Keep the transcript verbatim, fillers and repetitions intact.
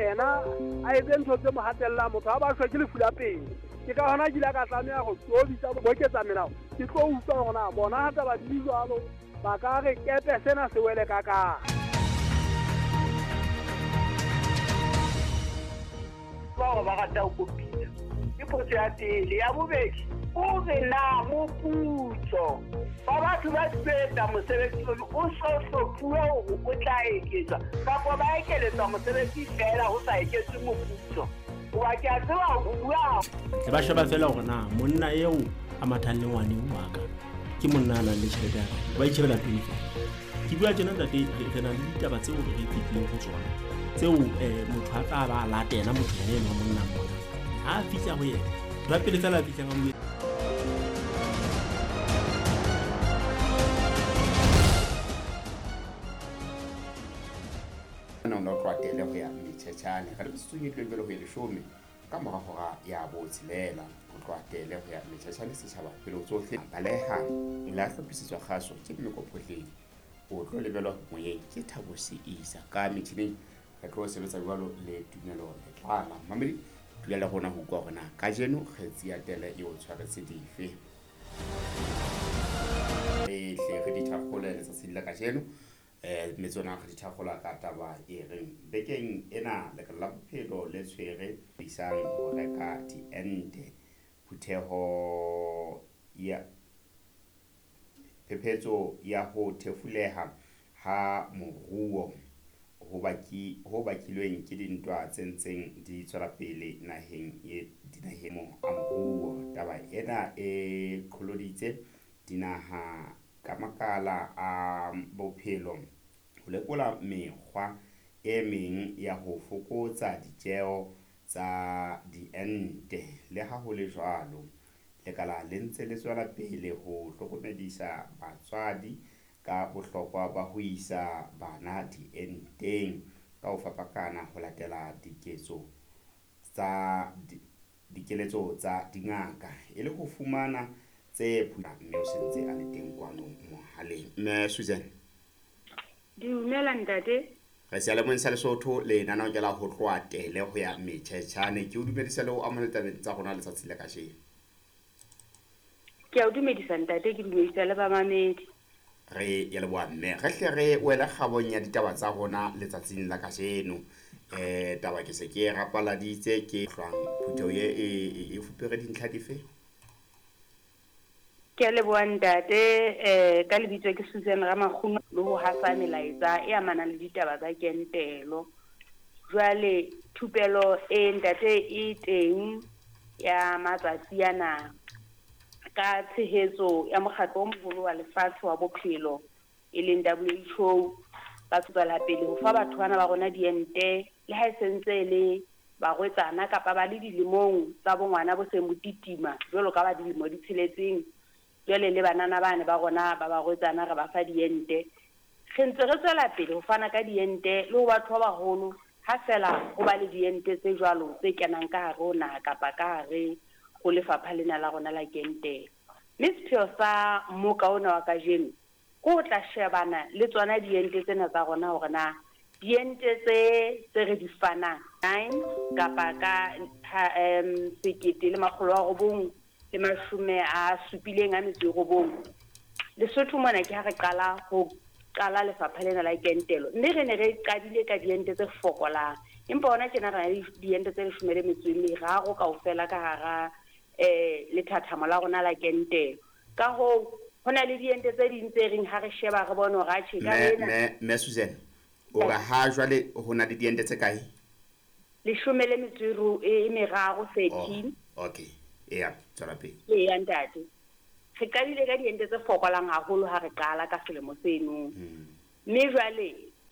Yena a etse ntho tse mo hatellang motho ha ba shwe ke lefu la pele. Ke ka hona ke ile ka tlameha ho tlo bitsa boketsa melao. Ke tlo utlwa hore na bona ha taba di jwalo ba ka re kepe sena se wele ka ka. Ba ba rata ho kopitsa. Ke potso ya pele. Ya bobedi, o re na moputso ba batho ba sebetsa mosebetsi o so hlophuwe hore o tla eketswa kapa ba ekeletswa mosebetsi feela ho sa eketswe moputso. Hoba ke a tseba ho bua. Tle ba sheba feela hore na monna eo a mathang le ngwaneng wa ka ke monna a nang le tjhelete ya ka. Ba itjhebela pele feela. Ke bua tjena ntate, re na le ditaba tseo re fetileng ho tsona tseo motho a tla ba latela motho yena enwa monna mona. Ha a fihla ho yena, ba pele feela a fihlang a mo no tlo ho ya Mthetshane re metsotso e tlweng ho ya leshome ka mora hora ya botshelela ho tloha tele ho ya Mthetshane setjhaba pele tsohle baleha la hlophisitswe kgaso ke Mmekophohleng o tlo lebelwa moyeng ke Thabo Seisa ka metjhineng re tlo sebetsa jwalo le Tumelo Letlala mamedi dula le rona ho utlwa hore na kajeno kgetsi ya tele e o tshwaretse dife re hle re dithakgole letsatsing la kajeno eh metsona re dithakgola ka taba e reng bekeng ena lekala la bophelo le tshwere isang ho reka diente phutheho ya phephetso ya ho thefuleha ha moruo ho baki ho bakilweng ke dintwa tse ntseng di tswela pele naheng e dinaheng a moruo. Taba ena e qholoditse dinaha ka makala a bophelo ho lekola mekgwa e meng ya ho fokotsa ditjeo tsa diente. Le ha ho le jwalo, lekala le ntse le tswela pele ho hlokomedisa batswadi ka bohlokwa ba ho isa bana dienteng ka ho fapakana ho latela diketso tsa dikeletso tsa dingaka e le ho fumana tse mme o sentse a le teng kwano mohaleng. Mme Susan. Dumela ntate. Re seyalemoyeng sa Lesotho lenaneo ke la ho tloha tele ho ya Mthetshane. Ke o dumedisa le ho amohela tabeng tsa rona letsatsi la kajeno. Ke a o dumedisa ntate, ke dumedisa le bamamedi. Re ya leboha mme re hle re wela kgabong ya ditaba tsa rona letsatsing la kajeno. Eh taba ke se ke rapaladitse ke hlwang phutheho e e fupere dintlha dife? Ke a leboha ntate, eh ka lebitso ke Susan Ramakguno le ho hasa melaetsa e amanang le ditaba tsa kentelo. Jwale thupelo e ntate e teng ya matsatsi ana ka tshehetso ya mokgatlo o moholo wa lefatshe wa bophelo e leng W H O, ba tswela pele ho fa batho bana ba rona diente le ha e sentse le barwetsana kapa ba le dilemong tsa bongwana bo seng bo titima jwalo ka ba dilemo di tsheletseng. Jwale le banana bane ba rona ba barwetsana re ba fa diente. Re ntse re tswela pele ho fana ka diente le ho batho ba baholo ha fela ho ba le diente tse jwalo tse kenang ka hare ho naha kapa ka hare ho lefapha lena la rona la kentelo. Mme sepheo sa mmoka ona wa kajeno ke ho tla shebana le tsona diente tsena tsa rona hore na diente tse tse re di fanang nine kapa ka um sekete le makgolo a robong le mashome a supileng a metso e robong. Lesotho mona ke ha re qala ho qala lefapha lena la kentelo, mme re ne re qadile ka diente tse fokolang, empa hona tjena re na le diente tse leshome le metso e meraro kaofela ka hara eh lethathamo la rona la kentelo. Ka hoo ho na le diente tse ding tse reng ha re sheba re bone hore atjhe ka ena. Mme mme Susan, o re ha jwale ho na le diente tse kae? Leshome le metso e meraro, thirteen. Okay. Eya, tswela pele. Eya ntate. Re qadile ka diente tse fokolang haholo ha re qala ka selemo seno. Mme jwale